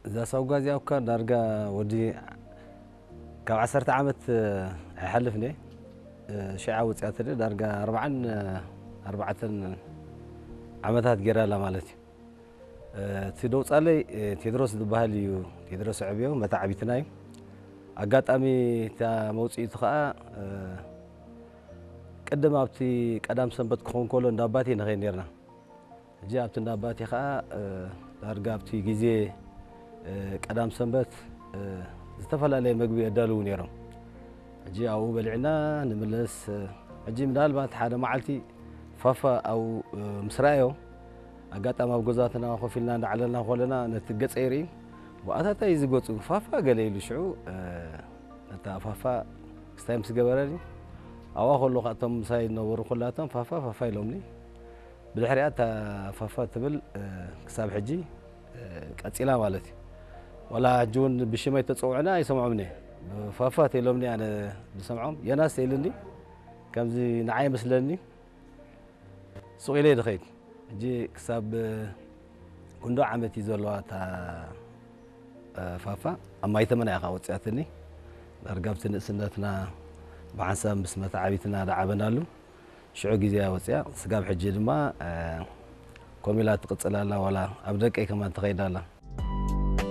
እዛ ሳውጋ እዚኣ እኳ ዳርጋ ወዲ ካብ ዓሰርተ ዓመት ኣይሓልፍን እየ። ሽዓ ወፂኣትኒ ዳርጋ ኣርባዓን ኣርባዕተን ዓመታት ገይራ ኣላ ማለት እዩ። እቲ ደውፃለይ ቴድሮስ ዝበሃል እዩ። ቴድሮስ ዕብዮ መታዕቢትና እዩ። ኣጋጣሚ እታ መውፅኢቱ ከዓ ቅድም ኣብቲ ቀዳም ሰንበት ክኸውን ከሎ እንዳ ኣባቴ ንኸይድ ነርና። ሕጂ ኣብቲ እንዳ ኣባቴ ከዓ ዳርጋ ኣብቲ ግዜ ቀዳም ሰንበት ዝተፈላለየ መግቢ የዳልዉ ነይሮም። ሕጂ ኣብኡ በሊዕና ንምለስ። ሕጂ ምናልባት ሓደ መዓልቲ ፋፋ ኣብኡ ምስ ረኣዮ ኣጋጣሚ ኣብ ገዛትና ኮፍ ኢልና እንዳዓለልና ከለና ነቲ ገፀይ ርኢ። ብኣታታይ እዚ ገፁ ፋፋ ገለ ኢሉ ሽዑ ነታ ፋፋ ክስታይ ምስ ገበረኒ ኣብኣ ከለኹ እቶም ምሳይ ዝነበሩ ኩላቶም ፋፋ ፋፋ ኢሎምኒ። ብድሕሪኣ እታ ፋፋ ትብል ክሳብ ሕጂ ቀፂላ ማለት እዩ። ዋላ ሕጂ እውን ብሽመይ ተፀውዕና ኣይሰምዖምን እየ። ፋፋ ተኢሎምኒ ኣነ ዝሰምዖም ዮናስ ተኢልኒ ከምዚ ንዓይ ይመስለኒ። ሱቕ ኢለ ድኸይድ ሕጂ ክሳብ ክንዶ ዓመት እዩ ዘለዋ እታ ፋፋ ኣብ ማይተመና እያ ወፂኣትኒ። ዳርጋ ኣብቲ ንእስነትና ብሓንሳብ ምስ መተዓቢትና ዳዓበናሉ ሽዑ ግዜ እያ ወፂኣ። ስጋብ ሕጂ ድማ ኮሚላ ትቕፅል ኣላ። ዋላ ኣብ ደቀይ ከማን ትኸይድ ኣላ።